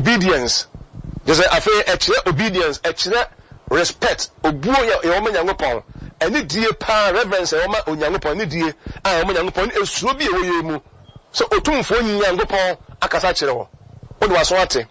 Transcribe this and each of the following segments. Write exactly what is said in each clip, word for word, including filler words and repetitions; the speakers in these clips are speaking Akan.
Obedience kyerɛ sɛ afei ɛkyerɛ obedience, ɛkyerɛ respect, obuo yɛ yɛwɔ ma Nyankopɔn, ɛne die paa, reverence ɛwɔ ma Onyankopɔn, ne die a ɛwɔ ma Nyankopɔn, ne esuro bi a ɛwɔ yɛn mu sɛ Otumfoɔ Nyankopɔn akasa kyerɛ wɔ, wode w'aso ate,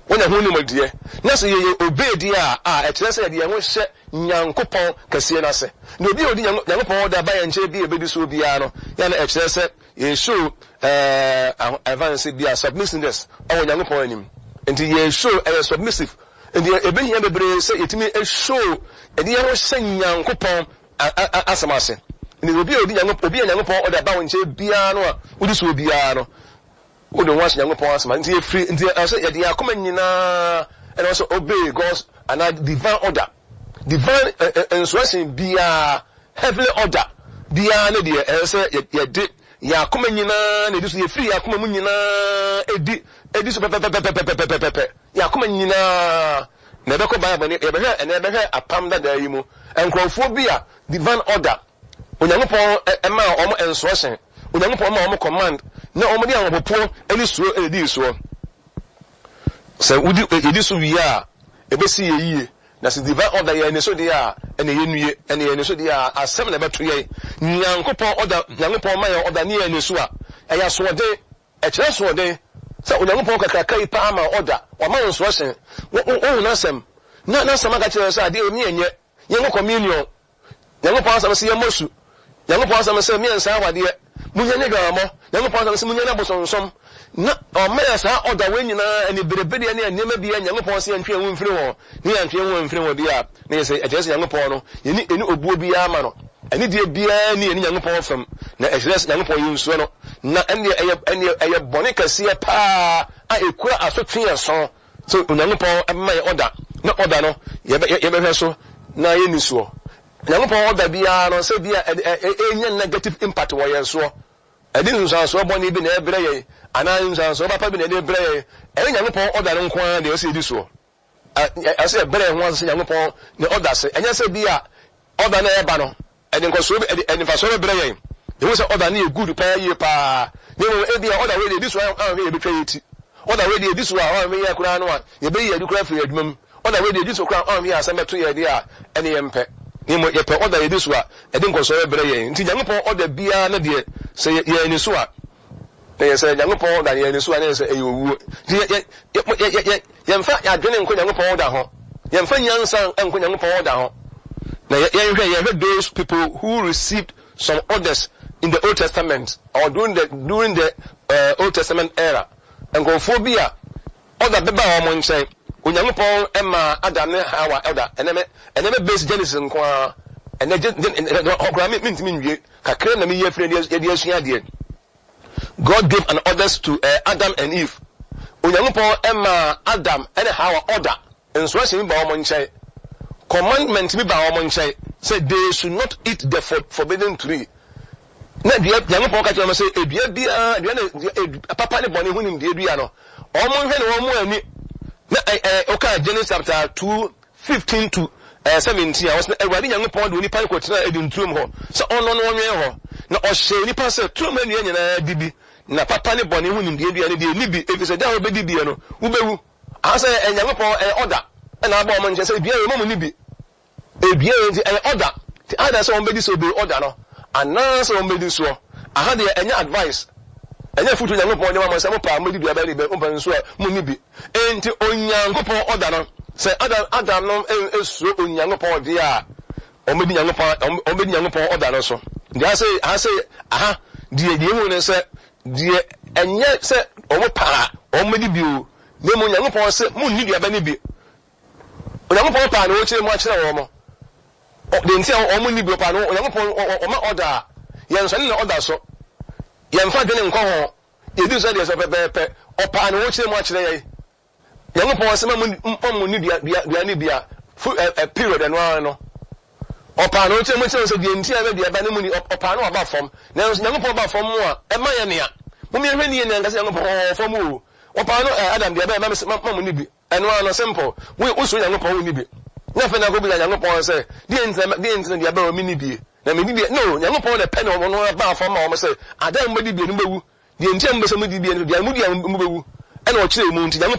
wonya ho nimdeɛ, na sɛ yɛyɛ obey deɛ a a ɛkyerɛ sɛ yɛde yɛn ho hyɛ Nyankopɔn kɛseɛ no ase. Na obi a ɔdi Nyankopɔn ɔda ba yɛn nkyɛn bi a ɛbɛdi soɔ biara no yɛn na ɛkyerɛ sɛ yɛshow ɛɛ ɛfa no sɛ bi a submissiveness ɛwɔ Nyankopɔn anim. Nti yɛshow ɛyɛ submissive. Nti ɛbɛhia bebree sɛ yɛtumi show yɛde yɛn ho hyɛ Nyankopɔn asɛm ase. Nti obi a ɔdi Nyankopɔn, obi a Nyankopɔn ɔda ba wo nkyɛn biara no a wodi soɔ biara no, wode ho ahyɛ Nyankopɔn asɛm ase. Nti yɛfiri nti ɛsɛ yɛde yɛn akoma nyinaa ɛna ɔsɛ obey God's anaa divine order, divine instruction biara, heavenly order biara ne deɛ ɛsɛ sɛ yɛde yɛn akoma nyinaa na ɛdi so. Yɛfiri yɛn akoma mu nyinaa ɛdi ɛdi so pɛpɛpɛpɛpɛpɛpɛ, yɛn akoma nyinaa. Na ɛbɛkɔ Bible ne yɛbɛhwɛ ɛnɛ, yɛbɛhwɛ Apam Dadaa yi mu nkurɔfoɔ bi a divine order, Onyankopɔn ɛmaa wɔn instruction, Onyankopɔn maa wɔn command, na wɔn de ahopopoɔ ne suro ɛna ɛdii soɔ. Sɛ wodi yɛdi so wie a, ɛbɛsi yɛ yie. Na sɛ divine order yɛ ne so deɛ a, ɛna yɛ nue, ɛna yɛ ne so deɛ a, asɛm na ɛbɛto yɛn. Nyankopɔn order, Nyankopɔn ma yɛn order ne yɛn ne so a, ɛyɛ asoɔden, ɛkyerɛ asoɔden sɛ Onyankopɔn kakraka yi paa ma order, wama wo instruction, wohu n'asɛm na n'asɛm aka kyerɛ sɛ adeɛ mi ɛnyɛ yɛnkɔ communion, Nyankopɔn asɛm sɛ yɛmmɔ su, Nyankopɔn asɛm sɛ miɛnsa awadeɛ, munya nye dwamamɔ, Nyankopɔn asɛm sɛ munya ne abosonsom, na ɔma yɛ saa ɔda wei nyinaa ani berebereɛ ne nneɛma bi a Nyankopɔn sɛ yɛntwe yɛn ho mfiri wɔn, ne yɛntwe yɛn ho mfiri wɔn bi a, na yɛ sɛ ɛkyerɛ sɛ Nyankopɔn no yɛni ɛni obuo biara ma no, ɛne deɛ biara ni yɛne Nyankopɔn fam, na ɛkyerɛ sɛ Nyankopɔn yɛ nsuo no, na ɛneɛ ɛyɛ ɛneɛ ɛyɛ bɔne kɛseɛ paa a ɛkura asotwe yɛn so sɛ Onyankopɔn ɛma yɛ ɔda na ɔda no yɛbɛ yɛbɛhwɛ so na yɛni soɔ. Nyankopɔn ɔda biara no sɛ bi a ɛnya negative impact wɔ yɛn soɔ, ɛde nsunsuansoɔ bɔne bi na ɛbrɛ yɛn anaa nsunsuansoɔ papa bi na ɛde brɛ yɛn, ɛyɛ Nyankopɔn ɔda no nko ara deɛ ɛsɛ yɛdi soɔ. Ɛsɛ yɛbrɛ yɛn ho ase sɛ Nyankopɔn ne ɔda se ɛnyɛ sɛ bi a ɔda no ɛba no ɛde nkɔsoɔ bi, ɛde ɛde mfasoɔ bɛbrɛ yɛn, yɛhu sɛ ɔda no yɛ good paa yie paa, na mmom ebi a ɔda wei deɛ ɛdi so a anhwɛ yɛbɛtwa yɛ ti, ɔda wei deɛ ɛdi so a anhwɛ yɛ koraa no a yɛbɛyi yɛn adi koraa firi adwuma mu, ɔda wei deɛ ɛdi so koraa anhwɛ yɛ asɛm bɛto yɛ deɛ a ɛne yɛn mpɛ, na mmom yɛpɛ ɔda yɛdi so a ɛde nkɔsoɔ bɛbrɛ yɛn. Nti Nyankopɔn ɔda biara no deɛ, sɛ yɛn ani so a na yɛ sɛ Nyankopɔn ɔda yɛn ani so a, na yɛ sɛ ɛyɛ owuo. Nti yɛ yɛ yɛ yɛ yɛmfa adwene nkɔ Nyankopɔn ɔda ho, yɛmfa nyansa nkɔ Nyankopɔn ɔda ho. Na yɛnhwɛ yɛhwɛ those people who received some orders in the Old Testament or during the during the uh, Old Testament era, nkurɔfoɔ bi a ɔda bɛba wɔn nkyɛn. Onyankopɔn ɛma Adam ne Hawa ɔda. ɛnɛ mɛ ɛnɛ mɛ base Genesis nko ara. Ɛnɛ gye ɔkora mi mi ntumi nwie kakra na mi yɛ firi yɛde asua adeɛ. God gave an orders to uh, Adam and Eve. Onyankopɔn ɛma Adam ɛne Hawa order, instruction bi ba wɔn nkyɛn, commandment bi ba wɔn nkyɛn sɛ they should not eat the forbidden tree. Na dua, Nyankopɔn ka kyerɛ wɔn sɛ edua biara, dua ne papa ne bɔne ho nimdeɛ dua no, wɔn nhwɛ ne wɔn mu ani. Na ɛ ɛ ɔka Genesis chapter two fifteen to ɛɛ seventeen a, wɔsɛ Awurade Nyankopɔn de onipa no kɔtena Eden turom hɔ sɛ ɔno no ɔnwɛn hɔ, na ɔhyɛ onipa sɛ turom nnua nyinaa di bi, na papa ne bɔne ho nimdeɛ dua no deɛ ni bi, efisɛ da a wobɛdi bie no wobɛwu. Ahasɛ ɛ Nyankopɔn ɛyɛ ɔda ɛna abɔ wɔn nkyɛn sɛ dua yɛ mɔmu ni bi edua yɛ, nti ɛyɛ ɔda. Nti ada sɛ wɔn bɛdi sɛ obey ɔda no anaasɛ wɔn bɛdi soɔ. Aha deɛ ɛnyɛ advice, ɛnyɛ futu Nyankopɔn de ma mo sɛ mo paa mo bɛdi dua bɛyɛ ne bɛ, mo pɛ nso a mo ni bi. Nti Onyankopɔn ɔda no, sɛ Adam Adam no esuro Onyankopɔn deɛ a, wɔn bɛdi Nyankopɔn wɔn bɛdi Nyankopɔn ɔda no so. Nti aha sɛ aha sɛ aha deɛ deɛ ehu ne sɛ deɛ ɛnyɛ sɛ wɔn paa wɔn bɛdi bi o, na emu Nyankopɔn sɛ mo nni duaba ne bi. Onyankopɔn paa na wɔkyerɛ mu akyerɛ wɔn deɛ nti a wɔn nni bi. Paa no Onyankopɔn ɔma ɔda a, yɛn nsɔne na ɔda so, yɛmfa dwene nkɔ ho, yɛdi so deɛ sɛ pɛpɛɛpɛ. Ɔpaa na wɔkyerɛ mu akyerɛ yɛn. Nyankopɔn sɛ ma mo ni dua dua dua ne bia fu ɛ ɛ period. Ɛno ara no ɔpaa na ɔkyerɛ mu kyerɛ sɛ deɛ nti a ɛbɛ duaba ne mu ni. Ɔpaa no ɔba fam, nanso Nyankopɔn ba fam mu a ɛma yɛ nea mo yɛhwɛ ni yɛ nea nkasa Nyankopɔn ɔwɔ fam o. Ɔpaa no ɛ Adam deɛ ɛbɛyɛ ma ma mo ni bi. Ɛno ara no simple. Wo wosuro Nyankopɔn, wo ni bi na afei na akɔ bisa Nyankopɔn sɛ deɛ ntina deɛ ntina deɛ ɛbɛyɛ mi ni bie na mi di deɛ no. Nyankopɔn na pɛ na ɔno aba fam ma wɔn sɛ adan mo bɛdi bie no bɛwu. Deɛ nti a mo bɛ sɛ mo di bie no, deɛ mo di a mo bɛwu, ɛna ɔkyerɛ mu. Nti Nyankopɔn